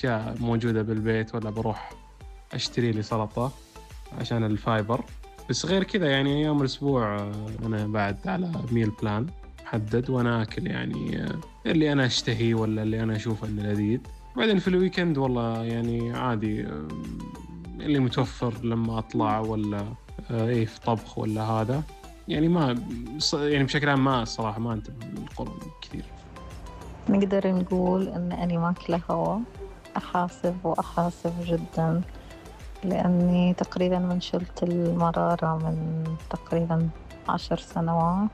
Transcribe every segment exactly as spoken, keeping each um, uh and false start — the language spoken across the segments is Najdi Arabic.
أشياء موجودة بالبيت، ولا بروح أشتري لي سلطة عشان الفايبر. بس غير كذا يعني يوم الأسبوع أنا بعد على ميل بلان محدد وأنا أكل يعني اللي أنا أشتهي ولا اللي أنا أشوف إنه لذيذ. بعدين في الويكند والله يعني عادي اللي متوفر لما أطلع ولا إيه في طبخ ولا هذا. يعني ما يعني بشكل عام ما الصراحة ما أنتبه للقولون كثير. نقدر نقول إن أني ماكلة هوا، أحاسب وأحاسب جدا، لأني تقريبا من شلت المرارة من تقريبا عشر سنوات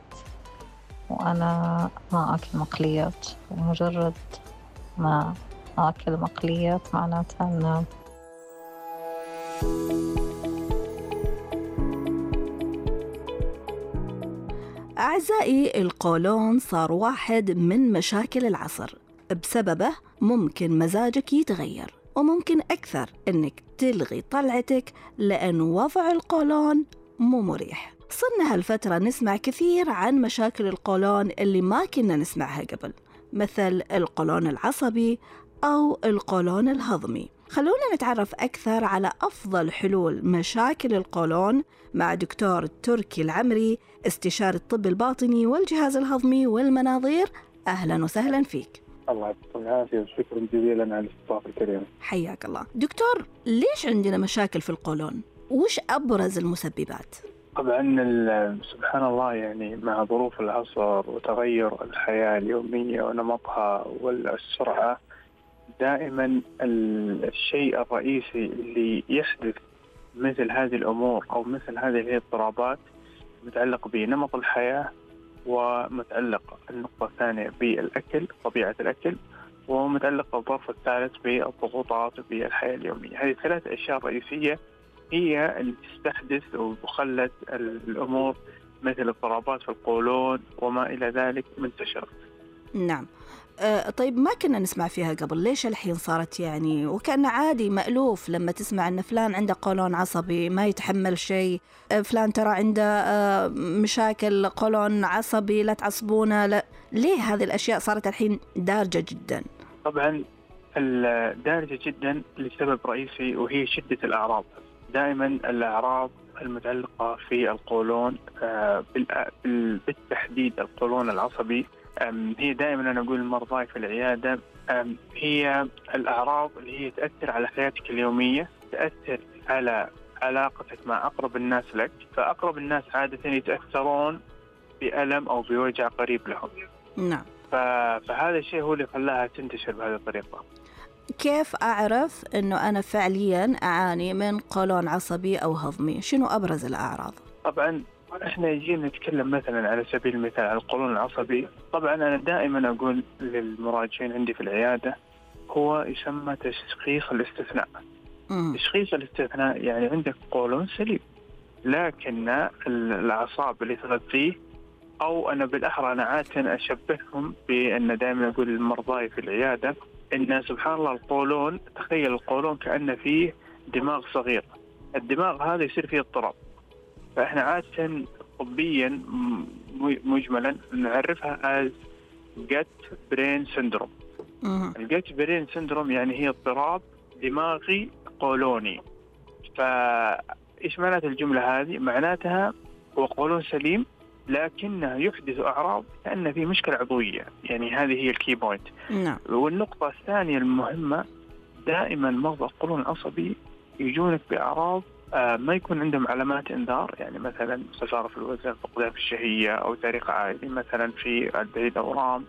وأنا ما أكل مقليات، ومجرد ما أكل مقليات معناتها أنه أعزائي، القولون صار واحد من مشاكل العصر. بسببه ممكن مزاجك يتغير، وممكن أكثر أنك تلغي طلعتك لأن وضع القولون مو مريح. صرنا هالفترة نسمع كثير عن مشاكل القولون اللي ما كنا نسمعها قبل، مثل القولون العصبي أو القولون الهضمي. خلونا نتعرف أكثر على أفضل حلول مشاكل القولون مع دكتور تركي العمري، استشاري الطب الباطني والجهاز الهضمي والمناظير. أهلا وسهلا فيك. الله يعطيكم العافية وشكرا جزيلا على الاستضافة الكريمة. حياك الله. دكتور، ليش عندنا مشاكل في القولون؟ وش أبرز المسببات؟ طبعا سبحان الله، يعني مع ظروف العصر وتغير الحياة اليومية ونمطها والسرعة، دائما الشيء الرئيسي اللي يحدث مثل هذه الأمور أو مثل هذه الاضطرابات متعلق بنمط الحياة، ومتعلق النقطة الثانية بالأكل، طبيعة الأكل، ومتعلق الظرف الثالث بالضغوطات بالحياة اليومية. هذه ثلاث أشياء رئيسية هي اللي تستحدث وخلت الأمور مثل اضطرابات في القولون وما إلى ذلك منتشرة. نعم. أه طيب، ما كنا نسمع فيها قبل، ليش الحين صارت يعني وكان عادي مألوف لما تسمع أن فلان عنده قولون عصبي ما يتحمل شيء، أه فلان ترى عنده أه مشاكل قولون عصبي لا تعصبونه؟ لا، ليه هذه الأشياء صارت الحين دارجة جدا؟ طبعا الدارجة جدا لسبب رئيسي، وهي شدة الأعراض. دائما الأعراض المتعلقة في القولون أه بالتحديد القولون العصبي هي دائما أنا أقول للمرضى في العيادة هي الأعراض اللي هي تأثر على حياتك اليومية، تأثر على علاقتك مع أقرب الناس لك. فأقرب الناس عادة يتأثرون بألم أو بوجع قريب لهم. نعم. فهذا الشيء هو اللي خلاها تنتشر بهذه الطريقة. كيف أعرف أنه أنا فعليا أعاني من قولون عصبي أو هضمي؟ شنو أبرز الأعراض؟ طبعا احنا يجينا نتكلم مثلا على سبيل المثال على القولون العصبي. طبعا انا دائما اقول للمراجعين عندي في العياده هو يسمى تشخيص الاستثناء. مم. تشخيص الاستثناء يعني عندك قولون سليم، لكن الاعصاب اللي تغذيه، او انا بالاحرى انا عاده اشبههم بان دائما اقول للمرضى في العياده ان سبحان الله القولون، تخيل القولون كأنه فيه دماغ صغير، الدماغ هذا يصير فيه اضطراب. فإحنا عادة طبيا مجملا نعرفها as gut brain syndrome. الgut brain syndrome يعني هي اضطراب دماغي قولوني. فإيش معنات الجملة هذه؟ معناتها هو قولون سليم لكنه يحدث أعراض كأن في مشكلة عضوية. يعني هذه هي الكي بوينت. نعم. والنقطة الثانية المهمة، دائما مرضى القولون العصبي يجونك بأعراض آه ما يكون عندهم علامات انذار، يعني مثلا خسارة في الوزن، فقدان في الشهية، أو تاريخ عائلي مثلا في البعيد أورام،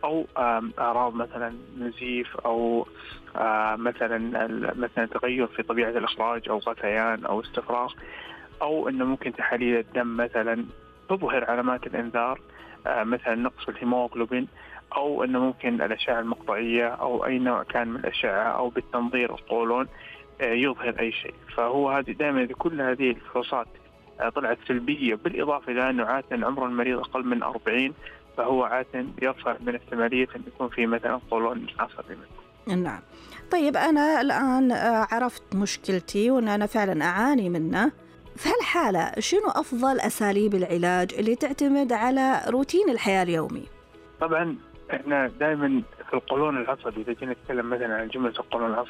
أو آه أعراض مثلا نزيف، أو آه مثلا مثلا تغير في طبيعة الإخراج، أو غثيان أو استفراغ، أو إنه ممكن تحاليل الدم مثلا تظهر علامات الانذار، آه مثلا نقص في الهيموغلوبين، أو إنه ممكن الأشعة المقطعية أو أي نوع كان من الأشعة، أو بالتنظير القولون يظهر أي شيء. فهو هذه دائما كل هذه الفحوصات طلعت سلبية، بالإضافة إلى أنه عادة عمر المريض أقل من أربعين، فهو عادة يرفع من احتمالية أن يكون في مثلا قولون عصبي. نعم. طيب، أنا الآن عرفت مشكلتي وأن أنا فعلا أعاني منه. في هالحالة شنو أفضل أساليب العلاج اللي تعتمد على روتين الحياة اليومي؟ طبعا احنا دائما في القولون العصبي، اذا جينا نتكلم مثلا عن جمله القولون العصبي